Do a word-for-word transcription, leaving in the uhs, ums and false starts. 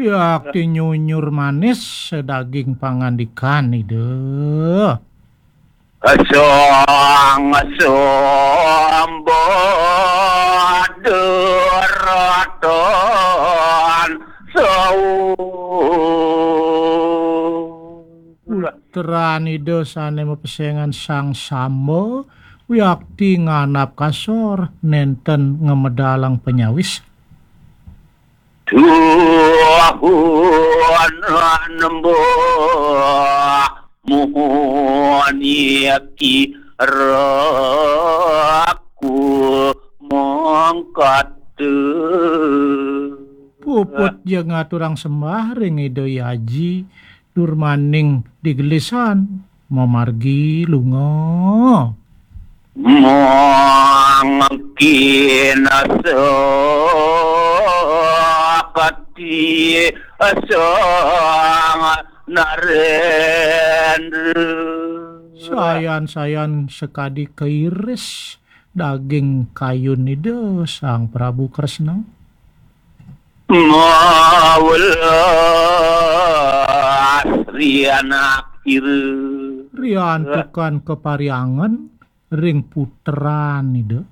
Yakti nyunyur manis daging pangandikan Ida. Sang Samba Deraton Saur. Putran Ida sane mapesengan Sang Samba, wiakti nganap kasor nenten ngemedalang penyawis. Tuhan nembah muhun iki raku mengkata. Puput ja ngaturang sembah ring Ida Aji, durmaning digelisan mamargi lunga. Mangkin sakti Sang Narendra. Sayan-sayan sakadi kairis daging kayun Ida Sang Prabu Kresna. Mawelas rianak ira. Riantukan kapariangan ring putran Ida.